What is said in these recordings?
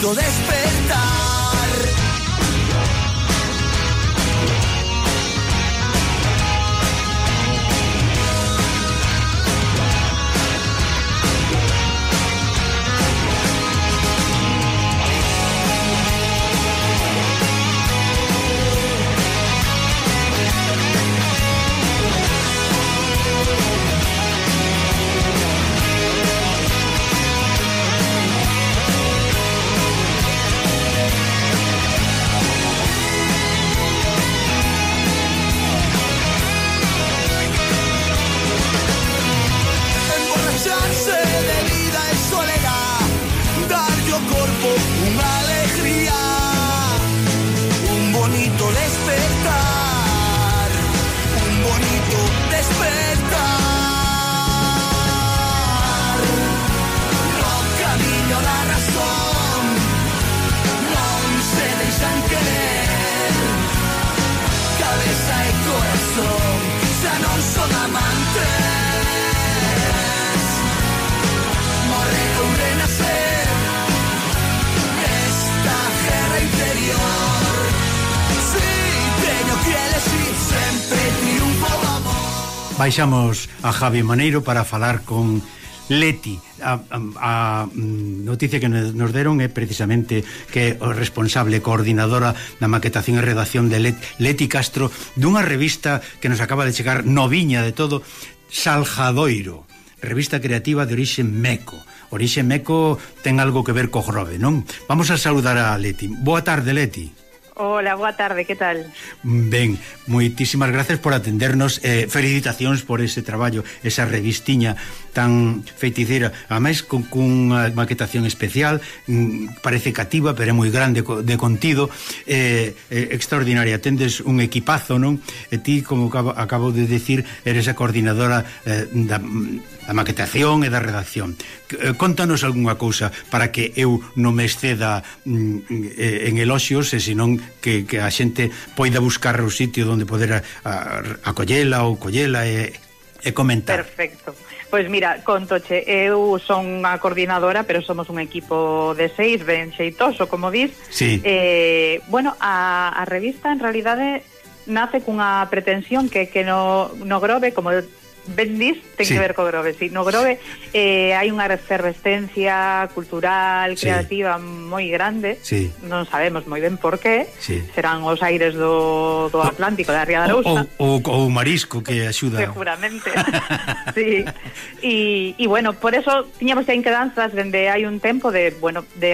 bonito despertar. Baixamos a Javi Maneiro para falar con Leti. A noticia que nos deron é precisamente que o responsable coordinadora da maquetación e redacción de Leti Castro, dunha revista que nos acaba de chegar noviña de todo, Salgadoiro, revista creativa de orixe meco. Orixe meco ten algo que ver co grove, non? Vamos a saludar a Leti. Boa tarde, Leti. Hola, boa tarde, que tal? Ben, moitísimas gracias por atendernos, felicitacións por ese traballo, esa revistiña tan feiticeira, ademais con unha maquetación especial, parece cativa, pero é moi grande de contido, extraordinaria. Tendes un equipazo, non? E ti, como acabo de decir, eres a coordinadora da maquetación e da redacción. Contanos algunha cousa para que eu non me exceda en eloxios, e senón que a xente poida buscar o sitio onde poder acollela ou collela e comentar. Perfecto. Pois mira, contoche, eu son a coordinadora, pero somos un equipo de 6, ben xeitoso, como dis. Sí. Bueno, a revista en realidade nace cunha pretensión que no Grove, como ben dis, ten que ver co Grove, sí. No Grove hai unha efervescencia cultural, creativa moi grande, non sabemos moi ben por qué, serán os aires do Atlántico, da Ría de Arousa, ou marisco que axuda seguramente. Sí. E bueno, por eso tiñamos xa inquedanzas dende hai un tempo de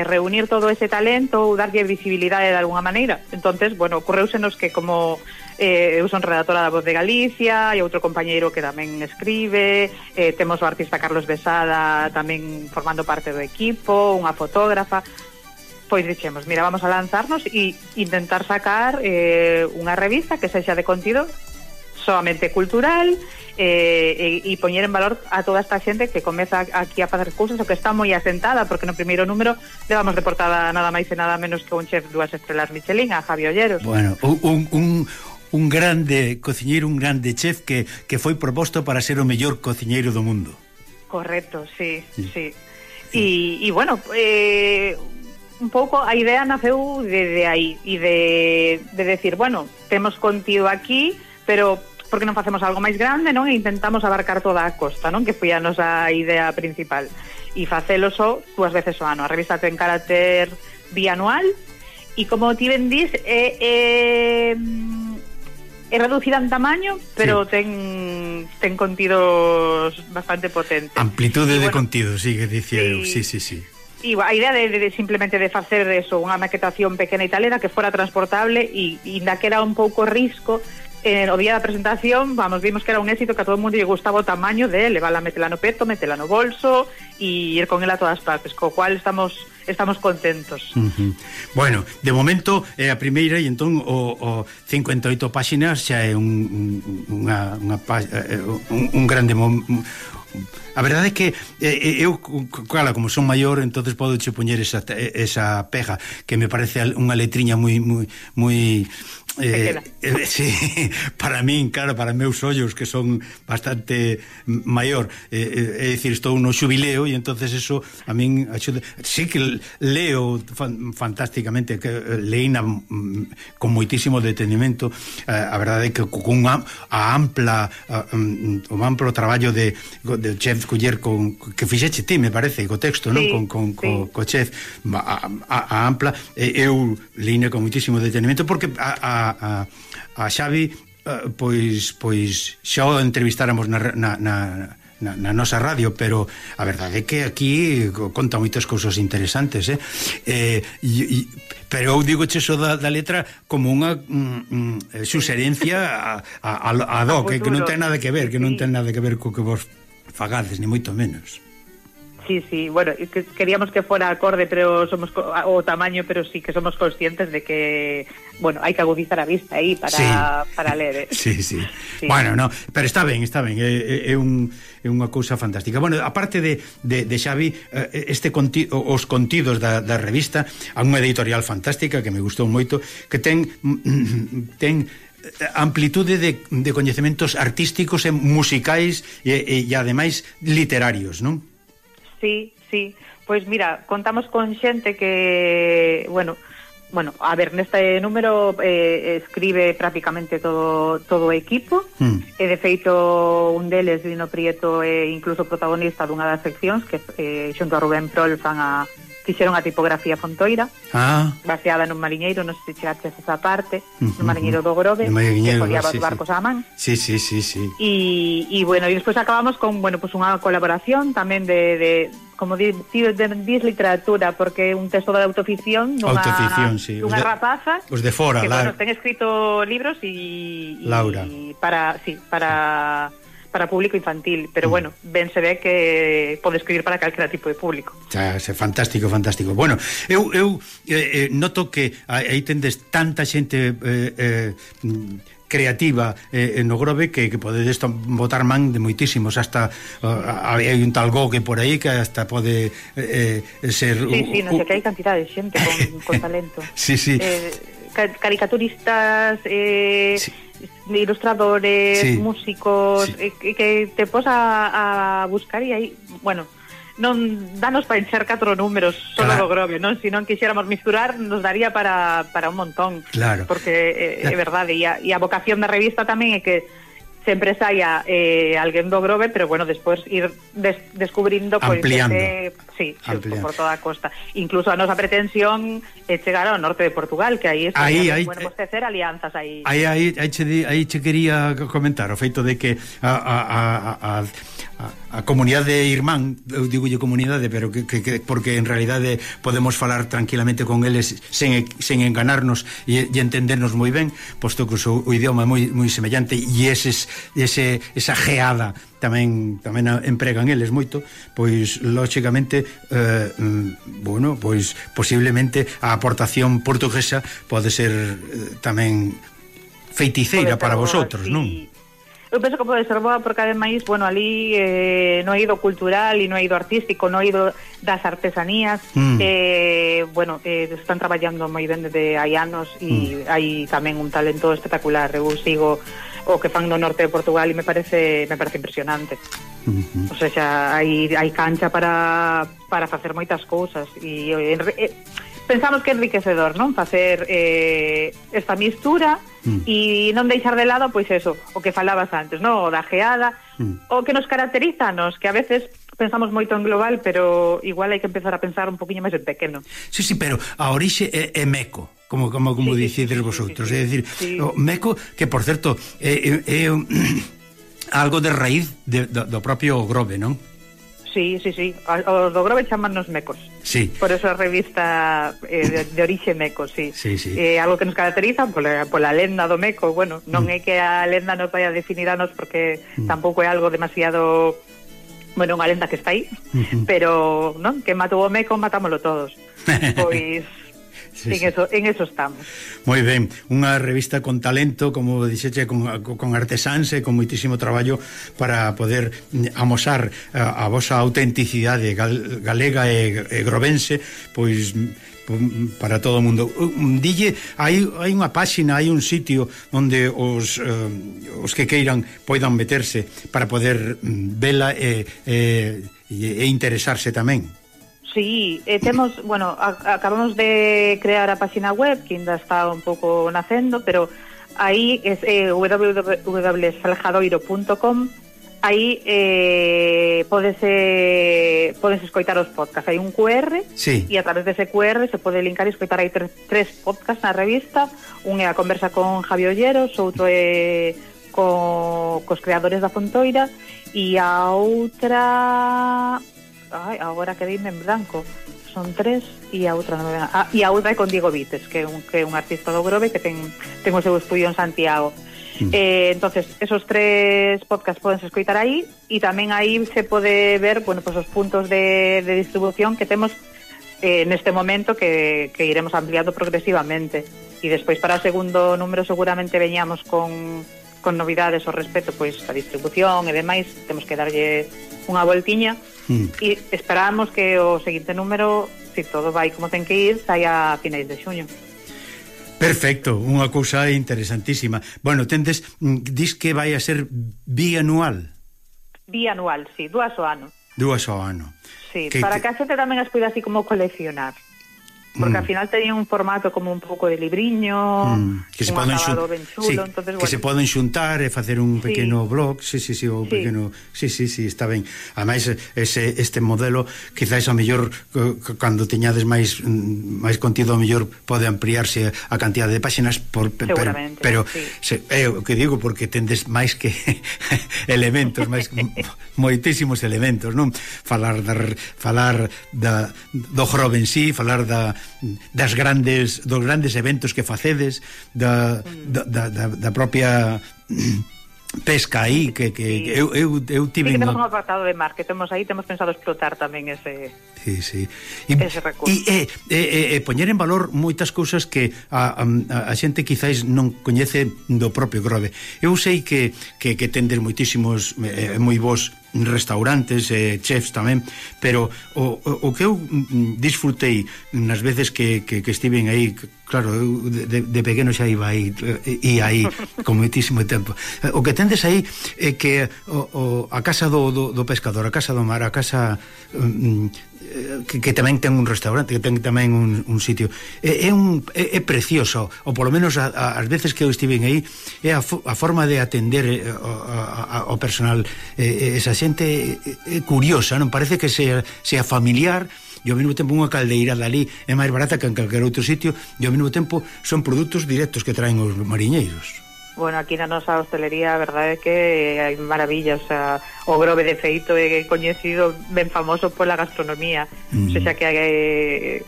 reunir todo ese talento ou darlle visibilidade de alguna maneira. Entonces, bueno, ocorreusenos que como eu son redactora da Voz de Galicia e outro compañeiro que tamén escribe, temos o artista Carlos Besada tamén formando parte do equipo, unha fotógrafa. Pois dixemos, mira, vamos a lanzarnos e intentar sacar unha revista que sexa de contido solamente cultural e poñer en valor a toda esta xente que comeza aquí a facer cousas o que está moi asentada, porque no primeiro número levamos de portada nada máis e nada menos que un chef 2 estrelas Michelin, a Javi Olleros. Bueno, un grande cociñeiro, un grande chef que foi proposto para ser o mellor cociñeiro do mundo. Correcto, sí. E bueno, un pouco a idea naceu de aí e de decir, bueno, temos contido aquí, pero porque non facemos algo máis grande, non? E intentamos abarcar toda a costa, non? Que foi a nosa idea principal. E facelo só 2 veces ao ano. A revista ten carácter bianual e como ti ben dis, é reducida en tamaño, pero ten contidos bastante potentes. Amplitude de contido, que dicía eu. Sí. E a idea de simplemente de facer eso, unha maquetación pequena e tal, era que fora transportable e ainda que era un pouco risco. O día da presentación, vimos que era un éxito, que a todo o mundo lle gustaba o tamaño de levala, metela no peto, metela no bolso e ir con ela a todas partes, co cual estamos contentos. Bueno, de momento é a primeira e entón o 58 páxinas xa é un grande a verdade é que eu, claro, como son maior, entonces podo che poñer esa pega que me parece unha letriña moi sí, para min, claro, para meus ollos que son bastante maior, é dicir, estou no xubileo e entonces eso a min axuda. Sí que leo fantásticamente, que leína con moitísimo detenimento, a verdade é que con o amplo traballo de Chef Culler que fixeche ti, me parece, co texto, non? Co Chef a ampla, eu leína con moitísimo detenimento porque a Xavi pois xa o entrevistáramos na nosa radio, pero a verdade é que aquí conta moitas cousas interesantes, pero eu digo eso da letra como unha suxerencia a do, que non ten nada que ver, que non ten nada que ver co que vos fagades, ni moito menos. Sí, bueno, queríamos que fuera acorde, pero somos o tamaño, pero sí que somos conscientes de que, bueno, hai que agudizar a vista aí para ler. Sí. Bueno, no, pero está ben, é unha cousa fantástica. Bueno, aparte de Xavi, os contidos da revista, a unha editorial fantástica que me gustou moito, que ten amplitude de coñecementos artísticos e musicais e ademais literarios, non? Sí, pois mira, contamos con xente que, bueno, a ver, neste número escribe prácticamente todo o equipo, e de feito un deles, Lino Prieto, é incluso protagonista dunha das seccións que xunto a Rubén Prol fixeron a tipografía Fontoira, baseada nun mariñeiro, non sei se chegaches esa parte, nun mariñeiro do Grove, que foliaba os barcos á man. Sí. E bueno, e despois acabamos con, bueno, pues unha colaboración tamén de como dis literatura, porque é un texto de autoficción dunha rapaza os de fora, que, bueno, ten escrito libros e Laura para público infantil, pero bueno, ben se ve que pode escribir para calquera tipo de público. Fantástico. Bueno, eu noto que aí tendes tanta xente creativa no Grove que podedes botar man de moitísimos, hasta hai un tal Gogue por aí que hasta pode ser... Sí, non sei que hai cantidad de xente con talento. Sí. Caricaturistas, ilustradores, músicos, que te pos a buscar e aí, bueno, non danos para encher 4 números solo do Grove, non? Se non quixéramos misturar, nos daría para un montón. Claro. Porque é verdade, e a vocación da revista tamén é que sempre saia alguén do Grove, pero bueno, despois ir descubrindo ampliando. Por toda a costa. Incluso a nosa pretensión é chegar ao norte de Portugal, que aí podemos tecer alianzas aí. Aí che quería comentar o feito de que a comunidade irmán, eu digolle comunidade, pero que porque en realidade podemos falar tranquilamente con eles sen enganarnos e entendernos moi ben, posto que o idioma é moi semellante, e esa geada tamén empregan eles moito, pois lógicamente bueno, pois posiblemente a aportación portuguesa pode ser tamén feiticeira para vosotros, non? Eu penso que pode ser boa porque ademais, bueno, ali no eido cultural e no eido artístico, no eido das artesanías, bueno, están traballando moi ben desde hai anos e hai tamén un talento espectacular. Eu sigo o que fan no norte de Portugal e me parece impresionante. O sea, hai cancha para facer moitas cousas e pensamos que é enriquecedor, non? Facer esta mistura e non deixar de lado, pois eso, o que falabas antes, non? O da geada, o que nos caracteriza, que a veces pensamos moito en global, pero igual hai que empezar a pensar un poquinho máis en pequeno. Sí, pero a orixe é meco, como dicides vosotros, é dicir, o meco, que por certo é algo de raíz do propio Grove, non? Sí, os do Grove chamannos mecos. Sí. Por eso a revista de orixe meco, sí. Algo que nos caracteriza pola lenda do meco. Bueno, non é que a lenda nos vai a definir a nos, porque tampouco é algo demasiado... Bueno, unha lenda que está aí, pero non, que matou o meco, matámoslo todos. Pois Sí, en eso estamos. Moi ben, unha revista con talento, como dixeche, con artesáns e con moitísimo traballo para poder amosar a vosa autenticidade galega e grovense, pois para todo o mundo. Dille, hai unha páxina, hai un sitio onde os que queiran poidan meterse para poder vela e interesarse tamén. Sí, temos, bueno, acabamos de crear a página web que ainda está un pouco nacendo, pero aí é www.salgadoiro.com. Aí podes escoitar os podcasts. Hai un QR, sí, e a través dese QR se pode linkar e escoitar. Hai tres podcasts na revista. Un é a conversa con Javi Olleros, outro é cos creadores da Fontoira, e a outra... agora quedeime en blanco. Son 3 e a outra non me ven. E a outra é con Diego Vites, que é un artista do Grove que ten o seu estudio en Santiago. Entonces, esos 3 podcasts podense escoitar aí, e tamén aí se pode ver, bueno, pues os puntos de distribución que temos neste momento, que iremos ampliando progresivamente. E despois para o segundo número seguramente veñamos con novidades ao respecto, pois a distribución e demais. Temos que darlle unha voltiña. E esperamos que o seguinte número, se todo vai como ten que ir, saia a finais de xuño. Perfecto, unha cousa interesantísima. Bueno, dis que vai a ser bianual. Bianual, sí, 2 ao ano. 2 ao ano. Sí, para que a xente tamén as poida así como coleccionar. Porque ao final teñen un formato como un pouco de libriño, que se un acabado ben chulo, sí, entonces, que se poden xuntar e facer un pequeno blog, sí, o pequeno, sí, está ben. Ademais este modelo quizás a mellor cando teñades máis contido, a mellor pode ampliarse a cantidade de páxinas pero sí. É o que digo, porque tendes máis que elementos, máis moitísimos elementos, non? Falar do Grove en sí, falar dos grandes eventos que facedes, da propia pesca aí, que eu tive... Sí, que temos un apartado de mar que temos aí, temos pensado explotar tamén ese... Sí. Ese recurso. E poñer en valor moitas cousas que a xente quizáis non coñece do propio Grove. Eu sei que tendes moitísimos moi bons restaurantes, chefs tamén, pero o que eu disfrutei nas veces que estiven aí, claro, eu de pequeno xa iba aí con moitísimo tempo. O que tendes aí é que a casa do pescador, a casa do mar, a casa que tamén ten un restaurante, que ten tamén un sitio, é precioso, ou polo menos as veces que eu estiven aí, é a forma de atender ao personal, esa xente é curiosa, non parece que sea familiar, e ao mesmo tempo unha caldeira dali é máis barata que en calquer outro sitio, e ao mesmo tempo son produtos directos que traen os mariñeiros. Bueno, aquí na nosa hostelería a verdade é que hai maravillas, o Grove de feito é coñecido, ben famoso pola gastronomía, o sea que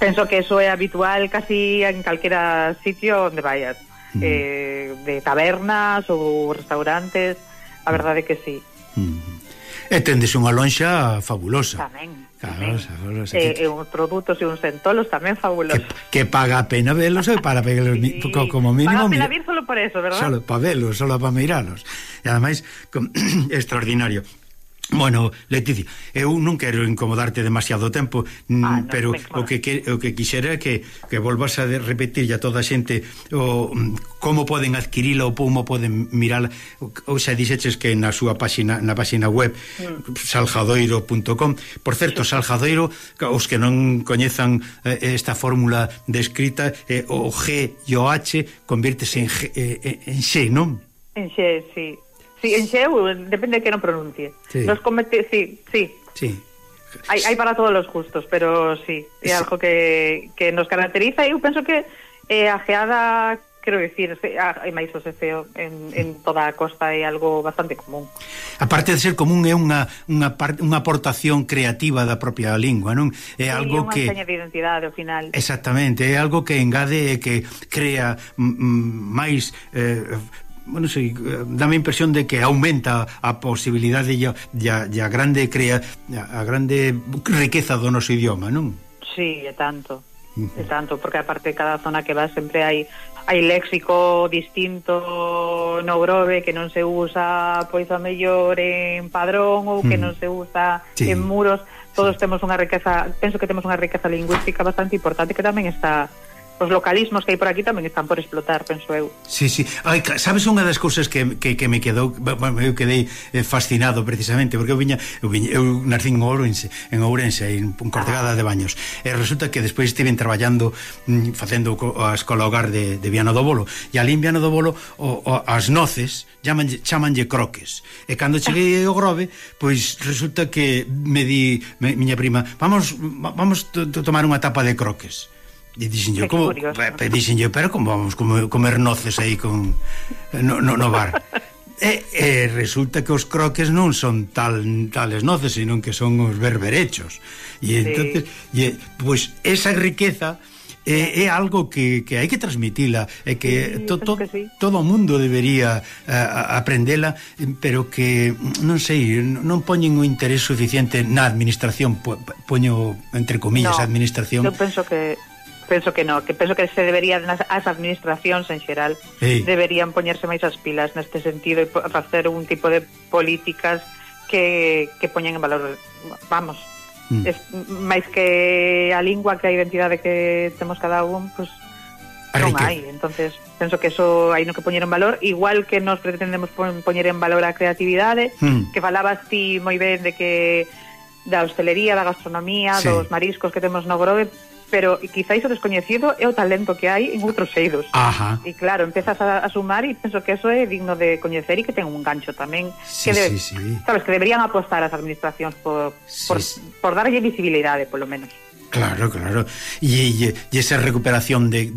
penso que eso é habitual casi en calquera sitio onde vayas, de tabernas ou restaurantes, a verdade é que sí. E tendes unha lonxa fabulosa. Tamén. Fabulosa. E uns produtos e uns entolos tamén fabulosos. Que paga a pena velos e para pegarlos, como mínimo. Paga a pena vir solo por eso, ¿verdad? Solo para velos, solo para miralos. E ademais, extraordinario. Bueno, Leticia, eu non quero incomodarte demasiado tempo, no, pero o que quixera é que volvas a repetir a toda a xente como poden adquirila ou como poden mirala, ou xa dixeches que na súa páxina web salgadoiro.com. Por certo, Salgadoiro, os que non coñezan esta fórmula descrita, o G e o H convírtese en X, non? En X, sí. Sí, en xeu, depende de que non pronuncie. Sí. Sí. Hai para todos os gustos, pero sí, é algo que nos caracteriza, e eu penso que a geada, quero dicir, hai máis o sefeo en toda a costa, é algo bastante común. Aparte de ser común, é unha aportación creativa da propia lingua, non? É algo que... unha seña de identidade, ao final. Exactamente, é algo que engade e que crea máis... bueno, sí, dame a impresión de que aumenta a posibilidade e a grande riqueza do noso idioma, non? Sí, é tanto. e tanto, porque aparte cada zona que vas sempre hai léxico distinto no Grove que non se usa pois a mellor en Padrón ou que non se usa en Muros. Todos temos unha riqueza, penso que temos unha riqueza lingüística bastante importante que tamén está, os localismos que hai por aquí tamén están por explotar, penso eu. Sí. Ai, sabes unha das cousas que me quedou, eu quedei fascinado precisamente, porque eu nací en Ourense, en Cortegada de Baños, e resulta que despois estiven traballando facendo a escola hogar de Viana do Bolo, e ali en Viana do Bolo as noces chamanlle croques, e cando cheguei ao Grove, pois resulta que me di miña prima, vamos tomar unha tapa de croques. E dixen yo, pero como vamos comer noces aí no bar? E resulta que os croques non son tales noces, sino que son os berberechos. E entonces, pois esa riqueza é algo que hai que transmitila, e que todo o mundo debería aprendela, pero que non sei, non poñen o interés suficiente na administración, poño entre comillas a administración. Eu penso que se deberían as administracións en xeral deberían poñerse máis as pilas neste sentido e facer un tipo de políticas que poñen en valor, vamos, máis que a lingua, que a identidade que temos cada un, pues non hai. Entonces penso que eso hai no que poñer en valor, igual que nos pretendemos poñer en valor a creatividade, que falabas ti moi ben de que da hostelería, da gastronomía, dos mariscos que temos no Grove, pero quizáis o descoñecido é o talento que hai en outros eidos. E claro, empezas a sumar e penso que eso é digno de coñecer e que ten un gancho tamén. Sabes, que deberían apostar as administracións por darlle visibilidade, polo menos. Claro. E esa recuperación de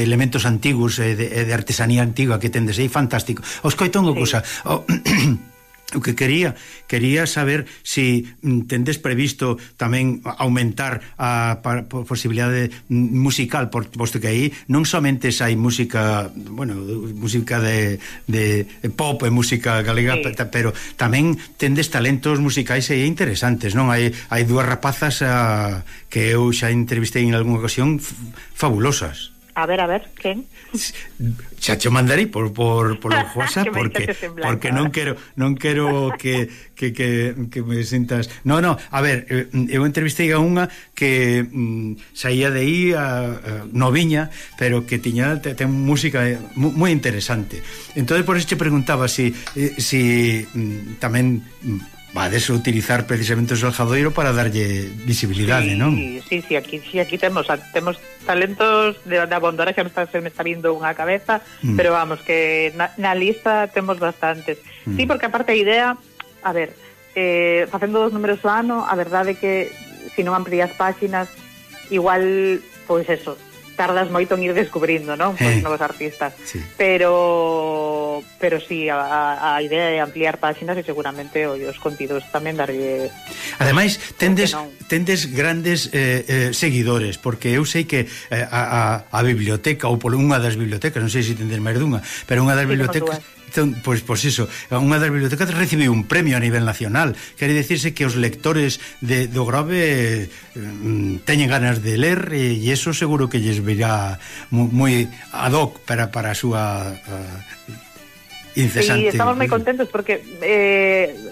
elementos antigos e de artesanía antigua que tendes aí, fantástico. Os coito unha cosa. O que quería saber se tendes previsto tamén aumentar a posibilidade musical, posto que aí non somente hai música, música de pop e música galega, pero tamén tendes talentos musicais aí interesantes, non? Hai dúas rapazas que eu xa entrevistei en algunha ocasión fabulosas. A ver, quen? Xa te mandarei por WhatsApp porque non quero que me sintas. No, a ver, eu entrevistei a unha que saía de aí noviña, pero que ten música moi interesante. Entonces por eso te preguntaba si tamén vades a utilizar precisamente o Salgadoiro para darlle visibilidade, non? Sí, aquí temos talentos de abondar, xa se me está vindo unha cabeza, pero vamos, que na lista temos bastantes. Sí, porque aparte a idea, a ver, facendo 2 números ao ano, a verdade é que se non amplías páxinas, igual, pois eso, tardas moito en ir descubrindo, non? Pois novos artistas. Pero sí, a idea é ampliar páxinas e seguramente os contidos tamén darlle. Ademais, tendes grandes seguidores, porque eu sei que a biblioteca, ou por unha das bibliotecas, non sei se tendes máis dunha, pero unha das bibliotecas, pois iso, unha das bibliotecas recibiu un premio a nivel nacional. Quere dicirse que os lectores do Grove teñen ganas de ler, e iso seguro que lles virá moi ad hoc para a súa incesante. Sí, estamos moi contentos porque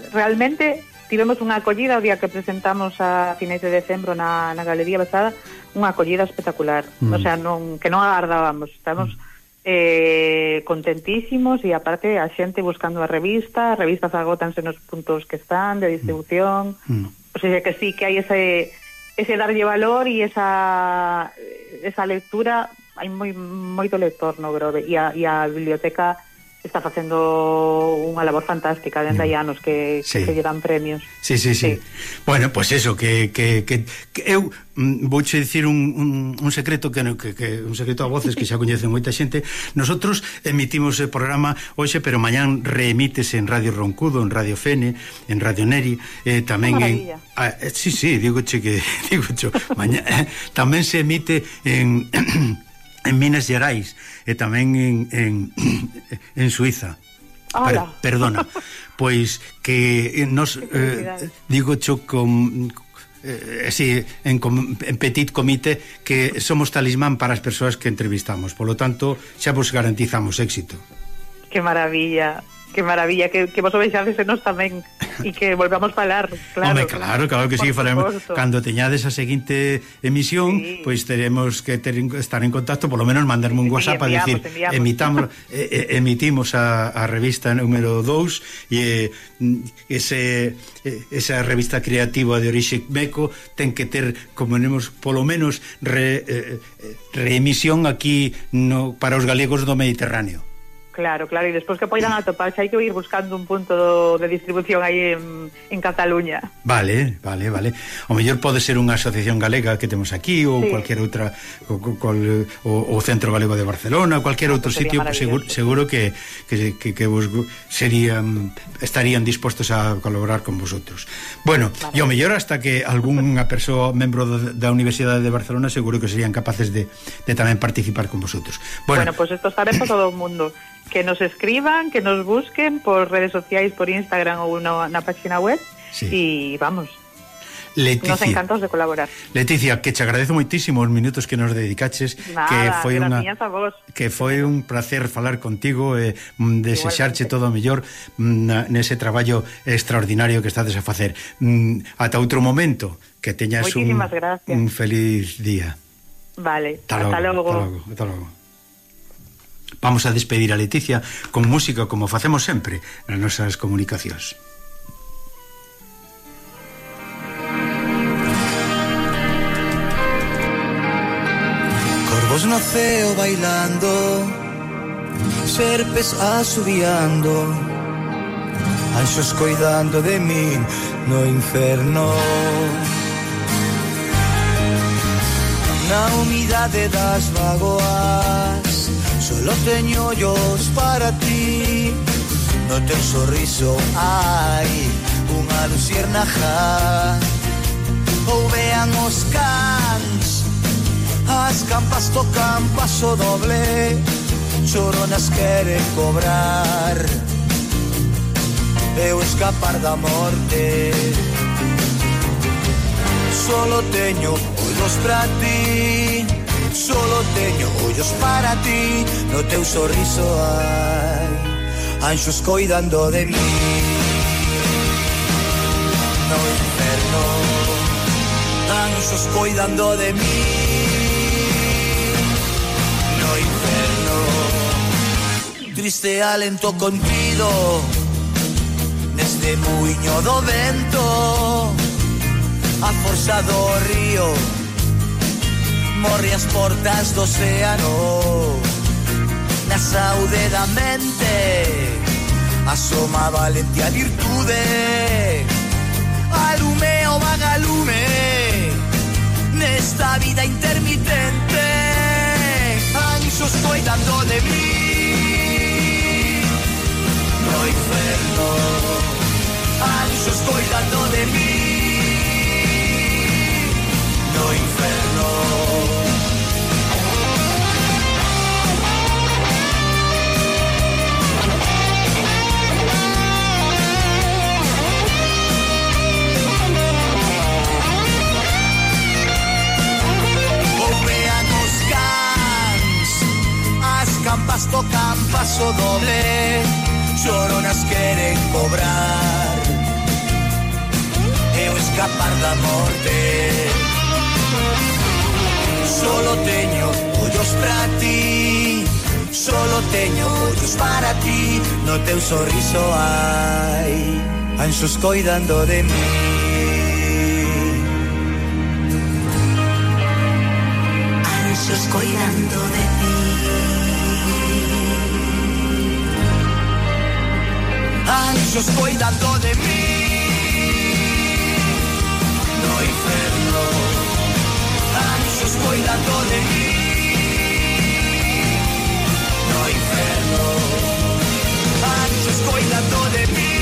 realmente tivemos unha acollida o día que presentamos a finais de decembro na Galería Besada, unha acollida espectacular. O sea, que non agardábamos, estamos contentísimos, e aparte a xente buscando a revistas agótanse nos puntos que están de distribución. O sea, que sí, que hai ese darlle valor e esa lectura. Hai moito lector no Grove, e a biblioteca está facendo unha labor fantástica dende hai anos que lle dan premios. Sí. Bueno, pois eso, que eu vouche dicir un secreto que un secreto a voces que xa coñecen moita xente. Nosotros emitimos o programa hoxe, pero mañán reemítese en Radio Roncudo, en Radio Fene, en Radio Neri, tamén digoche mañá tamén se emite en Minas Gerais e tamén en Suiza. Perdona. Pois que nos digo cho así, en petit comité, que somos talismán para as persoas que entrevistamos. Por lo tanto, xa vos garantizamos éxito. Que maravilla, que vos o vexades en nos tamén e que volvamos falar, claro. Home, claro que sí, faremos. Cando teñades a seguinte emisión, sí, pois teremos que estar en contacto, por lo menos mandarme un WhatsApp a decir, emitimos a revista número 2 e esa revista creativa de orixe meco ten que ter, como nemos, polo menos reemisión aquí para os galegos do Mediterráneo. Claro, e despois que poidan atopar, xa hai que ir buscando un punto de distribución aí en Cataluña. Vale. O mellor pode ser unha asociación galega que temos aquí, ou sí, cualquier outra, o Centro Galego de Barcelona, cualquier outro sitio, seguro que vos estarían dispostos a colaborar con vosotros. Bueno, e o mellor hasta que algunha persoa membro da Universidade de Barcelona seguro que serían capaces de tamén participar con vosotros. Bueno, pues esto está ben para todo o mundo. Que nos escriban, que nos busquen por redes sociais, por Instagram ou na página web, sí, e vamos, Leticia, nos encantados de colaborar. Leticia, que te agradezo moitísimo os minutos que nos dedicaches. Nada, que foi un placer falar contigo e desexarche todo o mellor nese traballo extraordinario que estades a facer. Ata outro momento, que teñas un feliz día. Vale, hasta logo. Vamos a despedir a Leticia con música, como facemos sempre nas nosas comunicacións. Corvos no ceo bailando, serpes asubiando, anxos coidando de min no inferno. Na humidade das vagoas solo teño ollos para ti. No teu sorriso hai unha luciérnaga. Ou vean os cans, as campas tocan paso doble, choronas queren cobrar, eu escapar da morte. Solo teño ollos para ti, solo teño ollos para ti. No teu sorriso hai anxos coidando de mí. No inferno, anxos coidando de mí. No inferno, triste alento contido neste muiño do vento. A forza do río morre as portas do océano. Na saúde da mente asoma a valentía a virtude. Alume o vagalume nesta vida intermitente. Anxos coidando de mí. No inferno, anxos coidando de mí. No inferno. Ou vean os cans, as campas tocan paso doble, choronas queren cobrar, eu escapar da morte. Solo teño ollos para ti, solo teño ollos para ti. No teu sorriso hai anxos coidando de mí. Anxos coidando de ti. Anxos coidando de mí. No inferno, anxos coidando de mí. No inferno, anxos coidando de mí.